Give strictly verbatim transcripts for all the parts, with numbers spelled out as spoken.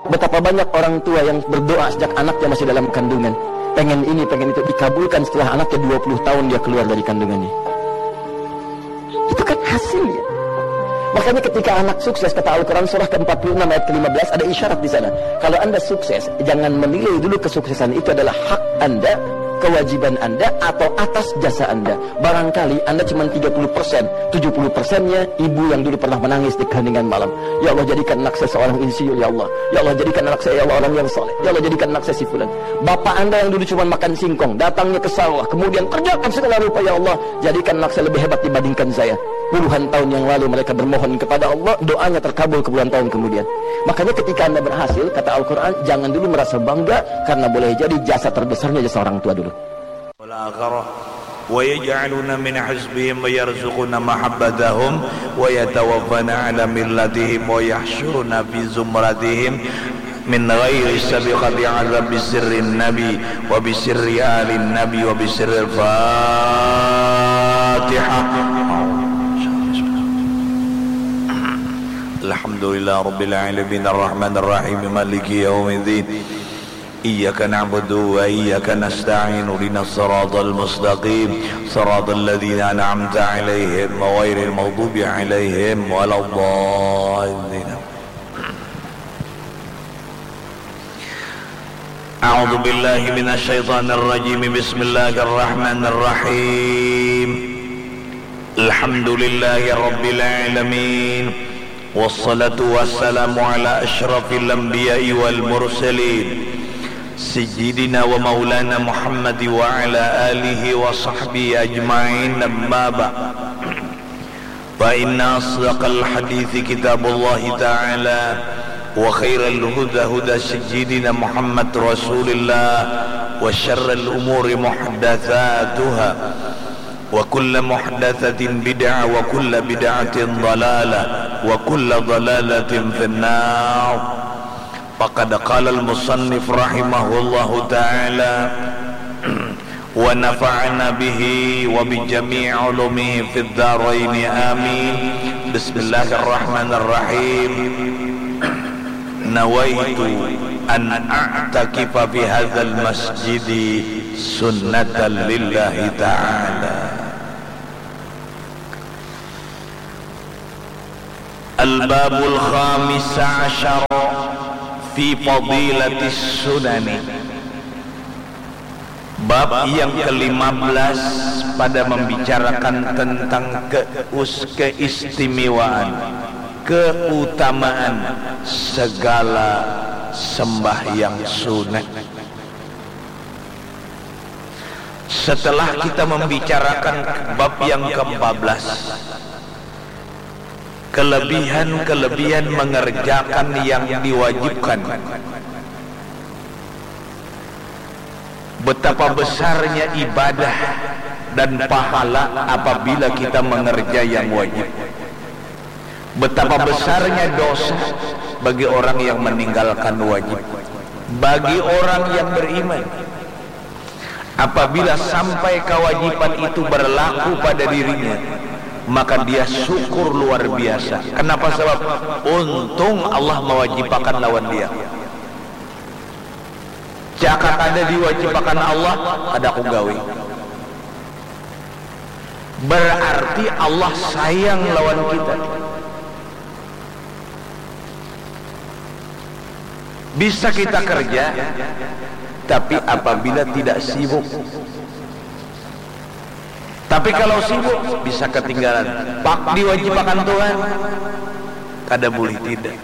Betapa banyak orang tua yang berdoa sejak anaknya masih dalam kandungan, pengen ini, pengen itu, dikabulkan setelah anaknya dua puluh tahun dia keluar dari kandungannya. Itu kan hasilnya. Makanya ketika anak sukses, kata Al-Quran surah ke-empat puluh enam ayat ke-lima belas, ada isyarat di sana. Kalau anda sukses, jangan menilai dulu kesuksesan itu adalah hak anda, kewajiban anda, atau atas jasa anda. Barangkali anda cuma tiga puluh persen, tujuh puluh persennya ibu yang dulu pernah menangis di keheningan malam. Ya Allah, jadikan anak saya seorang insinyur, ya Allah. Ya Allah, jadikan anak saya, ya Allah, orang yang soleh. Ya Allah, jadikan anak saya si fulan. Bapak anda yang dulu cuma makan singkong, datangnya ke sawah, kemudian kerjakan segala rupa, ya Allah, jadikan anak saya lebih hebat dibandingkan saya. Puluhan tahun yang lalu mereka bermohon kepada Allah, doanya terkabul puluhan tahun kemudian. Makanya ketika anda berhasil, kata Al-Quran, jangan dulu merasa bangga, karena boleh jadi jasa terbesarnya jasa orang tua dulu. والآخرة ويجعلون من حزبهم ويرزقون محبتهم ويتوفون على ملتهم ويحشرون في زمرتهم من غير سابقة عذاب بسر النبي وبسر آل النبي وبسر الفاتحة. الحمد لله رب العالمين الرحمن الرحيم مالك يوم الدين إياك نعبد وإياك نستعين اهدنا الصراط المستقيم صراط الذين أنعمت عليهم غير المغضوب عليهم ولا الضالين أعوذ بالله من الشيطان الرجيم بسم الله الرحمن الرحيم الحمد لله رب العالمين والصلاة والسلام على أشرف الأنبياء والمرسلين سيدنا ومولانا محمد وعلى آله وصحبه أجمعين أما بعد فإن أصدق الحديث كتاب الله تعالى وخير الهدى هدى سيدنا محمد رسول الله وشر الأمور محدثاتها وكل محدثة بدعة وكل بدعة ضلالة وكل ضلالة في النار فقد قال المصنف رحمه الله تعالى ونفعنا به وبجميع علومه في الدارين آمين بسم الله الرحمن الرحيم نويت أن أعتكف في هذا المسجد سنة لله تعالى Al-babul khamis asyar fi fadilatis sunani. Bab yang kelima belas pada membicarakan tentang keus-, keistimewaan, keutamaan segala sembahyang sunat. Setelah kita membicarakan bab yang keempat belas, kelebihan-kelebihan mengerjakan yang diwajibkan. Betapa besarnya ibadah dan pahala apabila kita mengerja yang wajib. Betapa besarnya dosa bagi orang yang meninggalkan wajib. Bagi orang yang beriman, apabila sampai kewajiban itu berlaku pada dirinya, maka dia syukur luar biasa. Kenapa? Sebab untung Allah mewajibkan lawan dia. Jaka kada diwajibkan Allah, kada aku gawi. Berarti Allah sayang lawan kita. Bisa kita kerja, tapi apabila tidak sibuk. Tapi kalau sibuk, bisa ketinggalan. Pak diwajibkan Tuhan, kada boleh tidak.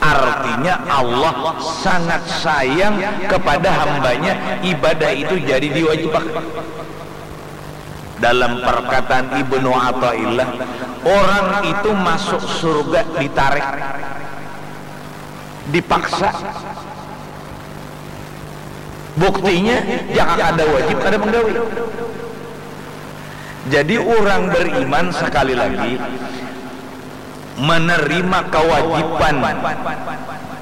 Artinya Allah sangat sayang kepada hambanya, ibadah itu jadi diwajibkan. Dalam perkataan Ibnu Athaillah, orang itu masuk surga ditarik, dipaksa. Buktinya, jaka kada wajib, kada menggawi. Jadi orang beriman sekali lagi menerima kewajiban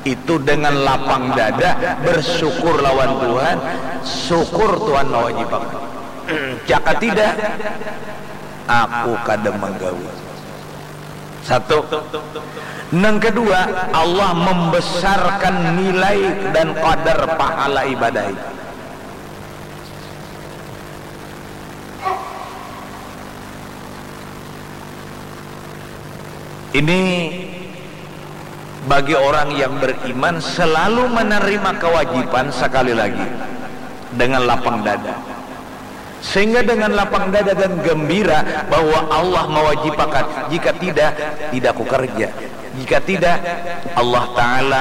itu dengan lapang dada, bersyukur lawan Tuhan, syukur Tuhan mewajibkan. Jaka tidak, aku kada menggawi. Satu. Nang kedua, Allah membesarkan nilai dan qadar pahala ibadah itu. Ini bagi orang yang beriman selalu menerima kewajiban sekali lagi dengan lapang dada. Sehingga dengan lapang dada dan gembira bahwa Allah mewajibakan, jika tidak, tidak aku kerja. Jika tidak, Allah Ta'ala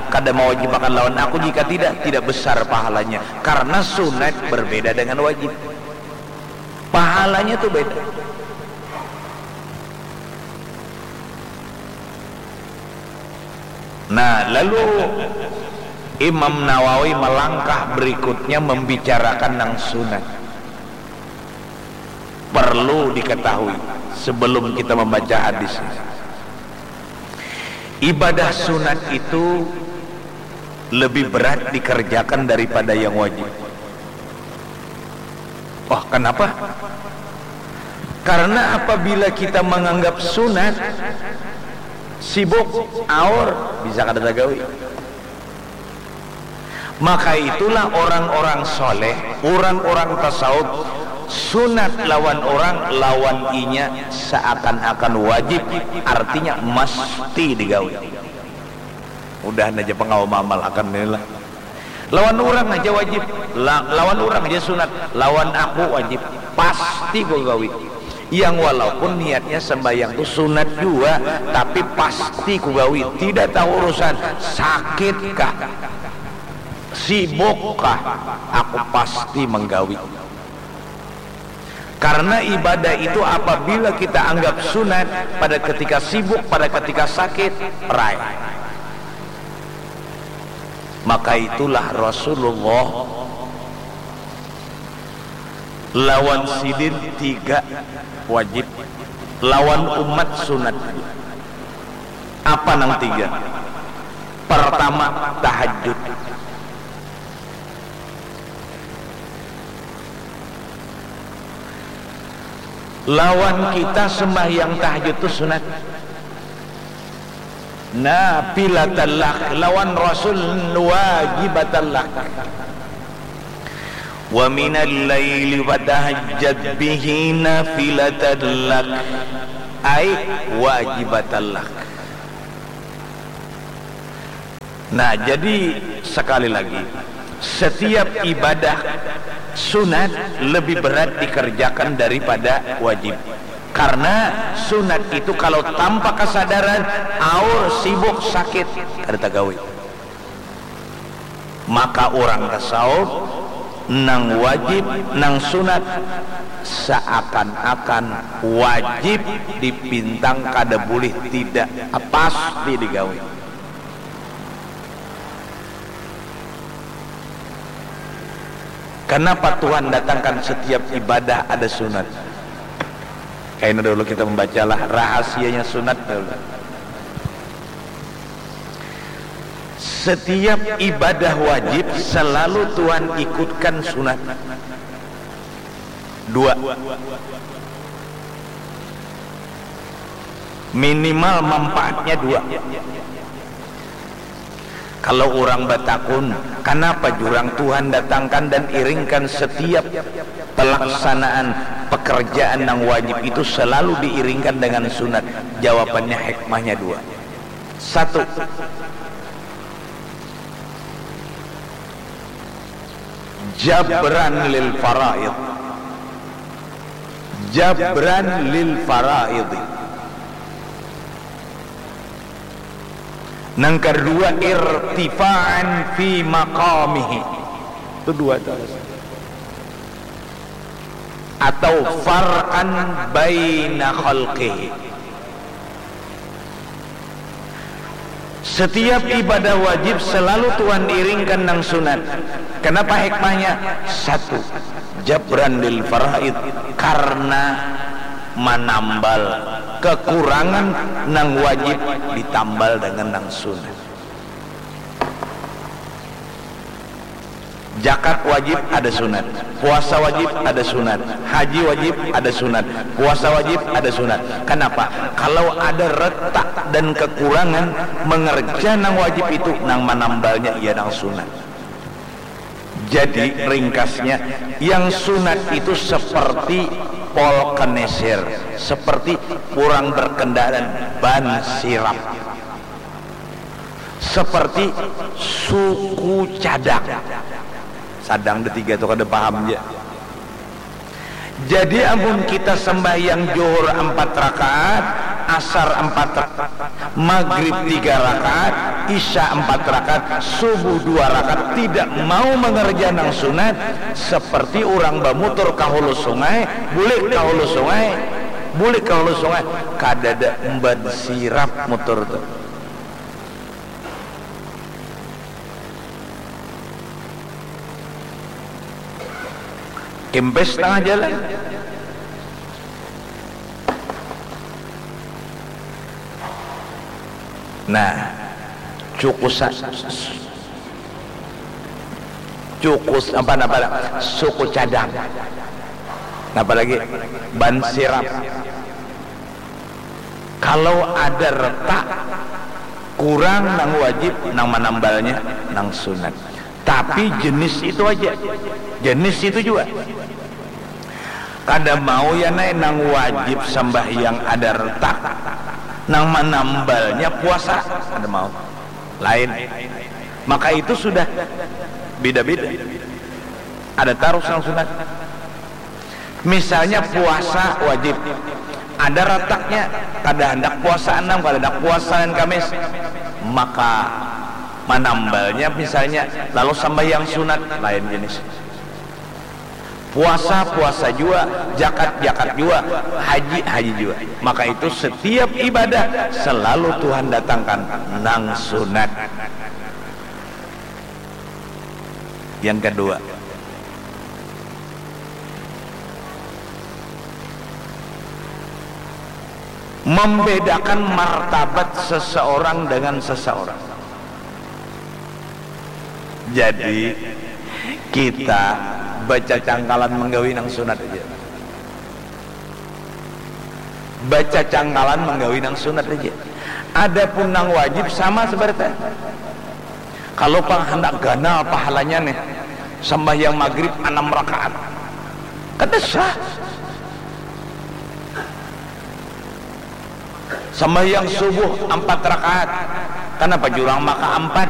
kada mewajibakan lawan aku, jika tidak, tidak besar pahalanya. Karena sunat berbeda dengan wajib. Pahalanya tuh beda. Nah, lalu Imam Nawawi melangkah berikutnya membicarakan nang sunat. Perlu diketahui sebelum kita membaca hadis ini. Ibadah sunat itu lebih berat dikerjakan daripada yang wajib. Oh, kenapa? Karena apabila kita menganggap sunat, sibuk, aur, bisa kada tagawi. Maka itulah orang-orang soleh, orang-orang tasawuf, sunat lawan orang, lawan inya seakan-akan wajib, artinya mesti digawi. Mudahan aja pengawa mamal akan nila. Lawan urang aja wajib, la, lawan urang aja sunat, lawan aku wajib, pasti ku gawi. Yang walaupun niatnya sembahyang tu sunat jua, tapi pasti ku gawi. Tidak tahu urusan sakit kah, sibuk kah, aku pasti menggawi. Karena ibadah itu apabila kita anggap sunat, pada ketika sibuk, pada ketika sakit, rai. Maka itulah Rasulullah lawan sidin tiga wajib, lawan umat sunat. Apa nang tiga? Pertama, tahajud. Lawan kita sembahyang tahajud tu sunat. Nafilatan lak, lawan Rasul wajibatan lak. Wa minal laili fatahajjad bihi nafilatan lak. Ai wajibatan lak. Nah, jadi sekali lagi, setiap ibadah sunat lebih berat dikerjakan daripada wajib. Karena sunat itu kalau tanpa kesadaran, aur, sibuk, sakit, kada tagawi. Maka orang tasawuf, nang wajib, nang sunat, seakan-akan wajib dipintang, kada boleh tidak, pasti digawi. Kenapa Tuhan datangkan setiap ibadah ada sunat? Kaina dulu kita membacalah rahasianya sunat dulu. Setiap ibadah wajib selalu Tuhan ikutkan sunat. Dua. Minimal manfaatnya dua. Kalau orang batakun, kenapa jurang Tuhan datangkan dan iringkan setiap pelaksanaan pekerjaan yang wajib itu selalu diiringkan dengan sunat? Jawabannya, hikmahnya dua. Satu, jabran lil faraid. Jabran lil faraid. Nang kedua, irtifa'an fi maqamihi. Itu dua terus. Atau farqan baina khalqihi. Setiap ibadah wajib selalu Tuhan iringkan nang sunat. Kenapa hikmahnya? Satu, jabran lil faraid, karena manambal kekurangan nang wajib ditambal dengan nang sunat. Jakat wajib ada sunat, puasa wajib ada sunat, haji wajib ada sunat, puasa wajib ada sunat. Kenapa? Kalau ada retak dan kekurangan mengerja nang wajib itu, nang manambalnya ia nang sunat. Jadi ringkasnya, yang sunat itu seperti polkeneser, seperti orang berkendaraan, ban sirap, seperti suku cadang. Sadang detiga tu kada paham ja. Jadi amun kita sembahyang Johor empat rakaat, Asar empat rakaat, Magrib tiga rakaat, Isya empat rakaat, Subuh dua rakaat, tidak mau mengerja nang sunat, seperti orang bamutur ka hulu sungai, bulik ka hulu sungai, bulik ka hulu sungai, kadada ban sirap mutur tu. Kempes tengah jalan. Nah, cukusa, cukus apa apa suku cadang. Apa lagi? Ban sirap. Kalau ada retak kurang nang wajib, nang manambalnya nang sunat. Tapi jenis itu aja. Jenis itu juga. Kada mau ya nai nang wajib sambahyang ada retak, nang manambalnya puasa. Kada mau. Lain. Maka itu sudah beda-beda. Ada tarus nang sunat. Misalnya puasa wajib, ada rataknya, kada handak puasa anam, kada handak puasa Senin Kamis, maka manambalnya misalnya lalu sambahyang sunat lain jenis. Puasa puasa jua, jakat jakat jua, haji haji jua. Maka itu setiap ibadah selalu Tuhan datangkan nang sunat. Yang kedua, membedakan martabat seseorang dengan seseorang. Jadi kita baca cangkalan menggawi nang sunat aja. Baca cangkalan menggawi nang sunat aja. Adapun nang wajib sama sebenarnya. Kalau pang handak ganal pahalanya nih, sembahyang maghrib enam rakaat, kada sah. Sembahyang subuh empat rakaat, kenapa jurang maka empat?